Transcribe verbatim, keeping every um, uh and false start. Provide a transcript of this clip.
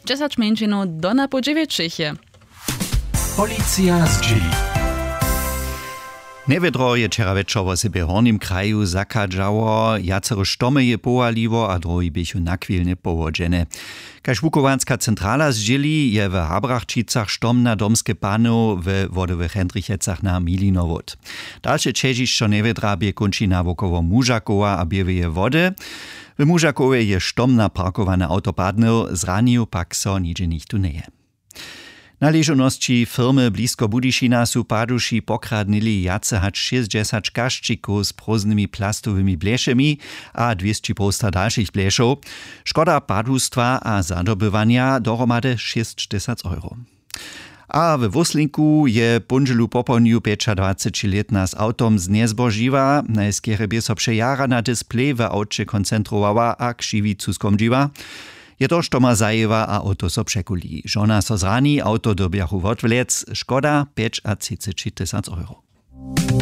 dźesać mjeńšinow do napoł dźewjećich je. Policija zdźěli. Njewědro je wčera wječor wosebje w hornim kraju zachadźało. Wjacere štomy je powaliło a druhi běchu nachwilnje powodźene. Kaž wuchowanska centrala zdźěli, je w Habrachčicach štom na domske panow we wodowych Hendrichecach na Milinowód. Dalše ćežišćo njewědra bě kónčina wokoło Mužakowa a Běłeje Wody. W Mužakowje je štom na parkowane awto padnył, zranił pak so nihdźe nichtó njeje. Na ležownosći firmy blisko Budyšina su paduši pokradnyli wjace hač šěsćdźesać kašćikow z prózdnymi plastowymi blecemi a dwěsći połsta dalšich bleczow. Škoda padustwa a zadobywanja dohromady šěsćtysac euro. A we Wóslinku je póndźelu popołdnju pjećadwacećilětna z awtom znjezbožiła. Najskerje bě so přejara na displej w awće koncentrowała a křiwicu skomdźiła. Je to, što ma zajěła a awto so překuli. Žona so zrani, awto dyrbjachu wotwlec, škoda pjećatřiceći tysac euro.